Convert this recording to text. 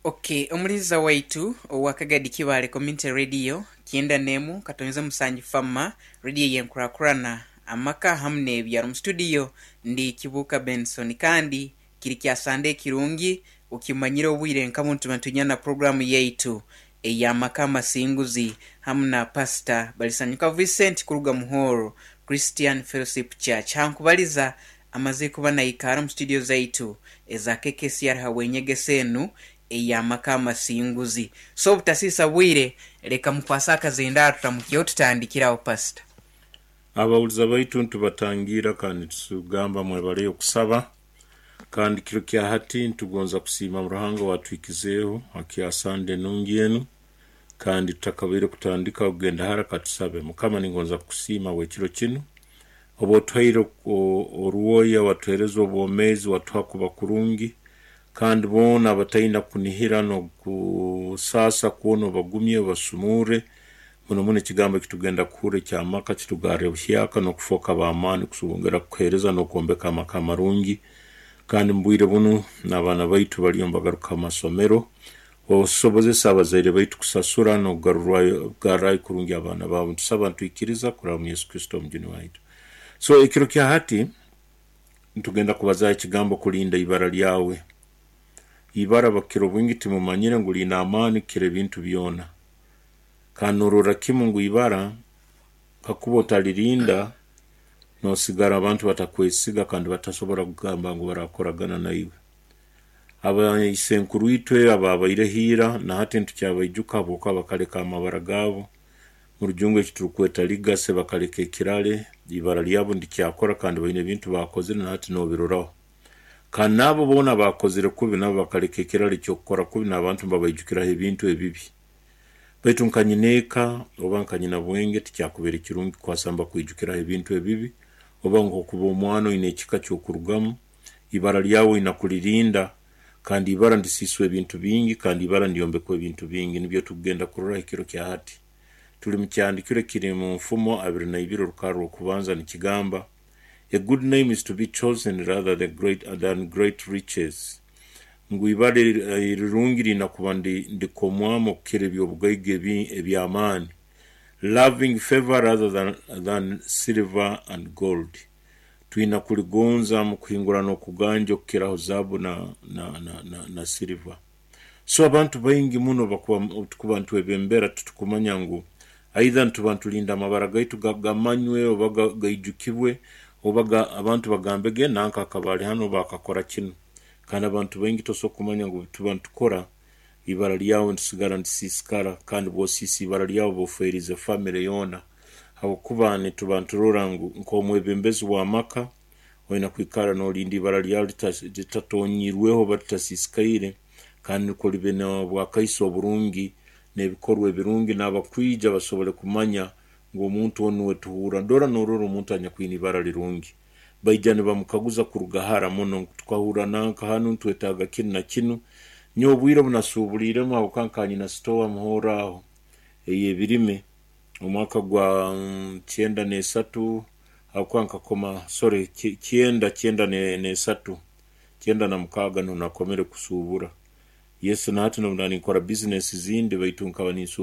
Ok, omuliza waitu owa Kagadi Kibaale Community Radio kyenda n'emu katonyeza musanju Fama, Radio ey'enkurakurana, amaka hamu n'ebyaro. Mu studio ndi Kibuuka Benson kandi kiri kya Sande ekirungi okimanyire obwire nka bunu tuba nitwiija na puroguramu yaitu ey'amaka amasinguzi hamu na Pastor Balisanyuka Vincent kuruga mu Hall Christian Fellowship Church. Hankubaliza Amaze kuba naikaara omu studio zaitu eza KKCR habw'enyegesa enu ey'amaka amasinguzi. So obutasiisa bwire, leka mukwase akazindaaro turamukyeho tutandikire aho Pastor. Abawuliza baitu nitubatangiira kandi nitugamba mwebaleyo okusaba. Kandi kiro kya hati nitugonza kusiima Ruhanga owatuhikizeeho ha kya Sande enungi enu. Kandi tutakabaire kutandika kugenda hara katusabe. Mukama ningonza kukusiima habw'ekiro kinu. Obu otuhaire orwoya, watuhereza obwomeezi, watuha kuba kurungi, kandi boona abataina kunihira n'okusaasa kwona obagumye, obasumurre. Muno muno ekigambo eki tugenda kuhurra eky'amaka kitugarre buhyaka n'okufooka b'amaani kusobongera kukuheereza n'okwombeka amaka amarungi. Kandi mu bwire bunu n'abaana baitu baliyo nibagaruka ha masomero, Osobozese abazaire baitu kusasura n'okugarrayo kurungi abaana baabo. Nitusaba nitwikiriza kuraba omu Yesu Kristo Omujuni waitu. So ekiro kya hati nitugenda kubazaaho ekigambo kulinda ibara lyawe. Ibara bakira obwingi timumanyire ngu liine amaani kukira ebintu byona. Kandi nororra kimu ngu ibara kakuba otalirinda nosigara abantu batakwesiga kandi batasobora kugamba ngu barakoragana naiwe. Abaisenkuruitwe abaabaireho ira na hati nitukyabaijuka habwokuba bakaleka amabara gaabo. Mu Rujungu eki turukweta legacy bakaleka ekirale, ibara lyabo ndikyakora kandi baine ebintu baakozire na hati noobiroraho. Kandi n'abo boona abaakozire kubi nabo bakaleka ekirale ky'okukora kubi n'abantu nibabaijukiraho ebintu ebibi. Baitu nka nyineeka oba nka nyinabwenge tikyakubaire kirungi kukwasa nibakwijukiraho ebintu ebibi oba nk'okuba omwana oine ekika ky'okurugamu. Ibara lyawe oina kulirinda, kandi ibara ndisiiswa ebintu bingi, kandi ibara ndyombekwa ebintu bingi. Nibyo tukugenda kuroraho ekiro kya hati. Tuli mu kyandikiro ekiri mu Nfumo 22 orukarra rw'okubanza nikigamba, A good name is to be chosen rather than great, than great riches. Ngu ibara erirungi liina kuba ndikomwamu okukira eby'obugaiga eby'amaani. Loving favor rather than, than silver and gold. Twina kuligonza mu kuhingura n'okuganja okukiraho zaabu na, na, na, na, na siliva. So abantu baingi muno bakuba obutukuba nitwebembera titukumanya ngu aidha nituba nitulinda amabara gaitu ga, gamanywe oba ga, gaijukibwe oba ga, abantu bagambe ge nanka akaba ali hanu oba akakora kinu. Kandi abantu baingi tosobora kumanya ngu obutuba nitukora ibara lyawe nirisigara nirisiisikara kandi bwosiisa ibara lyawe oba ofeerize famire yoona. Habwokuba nituba niturora ngu nk'omwebembezi w'amaka oine kwikara nolinda ibara lyawe litatonyiirweho oba litasiisikaire kandi nukwo libe n'obwakaiso oburungi n'ebikorwa ebirungi n'abakwija basobole kumanya ngu omuntu onu nuwe tuhurra. Dora norora omuntu anyakwine ibara lirungi. Baija nibamukaguza kuruga hara muno ngu tukahurra nanka hanu nitwetaaga kinu na kinu. Nyowe obwire obu nasuubuliiremu habwokuba nkaba nyina sitowa muhooro aho ey'ebirime omwaka gwa 93 habwokuba nkakoma sorry kyenda kyenda n'esatu 96 nuho nakomere kusuubura. Yes na hati n'obu naaba ninkora bizinesi zindi baitu nkaba ninsuubura.